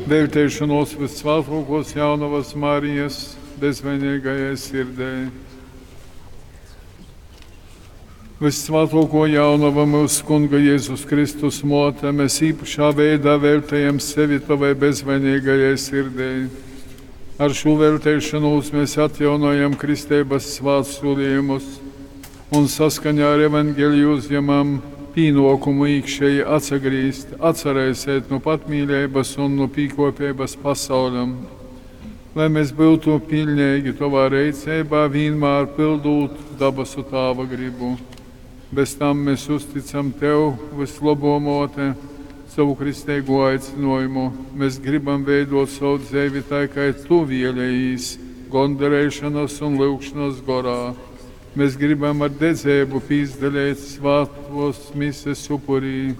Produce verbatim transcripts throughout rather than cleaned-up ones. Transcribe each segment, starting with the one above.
Velteišanos Vyssvātuokuos Jaunovys Marijas bezvaineigajai sirdei. Vyssvātuokuo Jaunova, myusu Kunga Jezus Kristus muote, mēs īpašā veidā veltejam sevi Tovai bezvaineigajai sirdei. Ar šū velteišanos mēs atjaunojam kristeibas svātsūlījumus un saskaņā ar evaņgeliju uzjemam pīnuokumu īkšēji atsagrīzt, atsaraisēt nu patmīleibas un nu pīkopeibas pasauļam. Lai mēs byutu piļneigi Tovā reiceibā, vīnmār pyldūt dabasu Tāva gribu. Bez tam mēs uzticam Tev, Vyslobuo Muote, sovu kristeigū aicynuojumu. Mēs gribam veidot sovu dzeivi tai, kai Tu vielejīs, gondareišonas un lyugšonas gorā. Mēs gribam ar dedzeibu pīsadaleit svātuos mises upurī,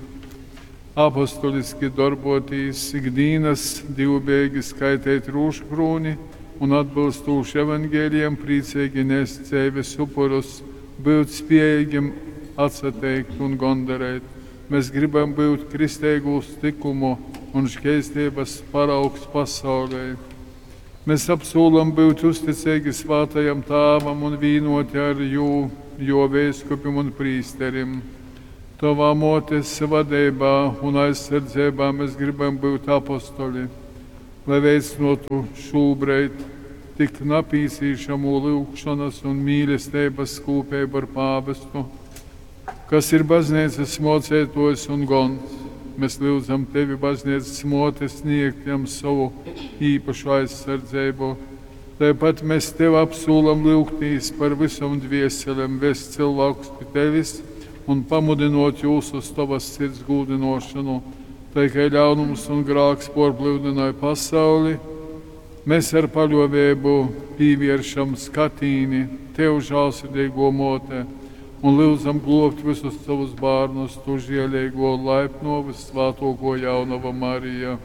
apostoliski dorbotīs, ikdīnas dīvbejeigi skaiteit rūžukrūni un atbylstūši evaņgelijam prīceigi nest dzeives upurus, byut spiejeigim atsateikt un gondareit. Mēs gribam byut kristeigūs tykumu un škeisteibas paraugs pasaulei. Mēs apsūlam byut uzticeigi Svātajam Tāvam un vīnuoti ar jū, juo veiskupim un prīsterim. Tovā muotes vadeibā un aizsardzeibā mēs gribam byut apostoli, lai veicynuotu šūbreid tik napīcīšamū lyugšonas un mīlesteibas kūpeibu ar pāvestu, kas ir bazneicas muoceituojs un gons. Mēs lyudzam Tevi, bazneicas muote, sniegt jam sovu īpašu aizsardzeibu. Taipat mēs Tev apsūlam lyugtīs par vysom dvieselem, vest cylvākus pi Tevis un pamudynuot jūs uz Tovas sirds gūdynuošonu. Tai kai ļaunums un grāks puorplyudynoj pasauli, mēs ar paļuoveibu pīvieršam skatīni Tev, žālsirdeiguo Muote, un lyudzam gluobt vysus sovus bārnus, Tu žieleiguo un laipnuo Vyssvātuokuo Jaunova Marija.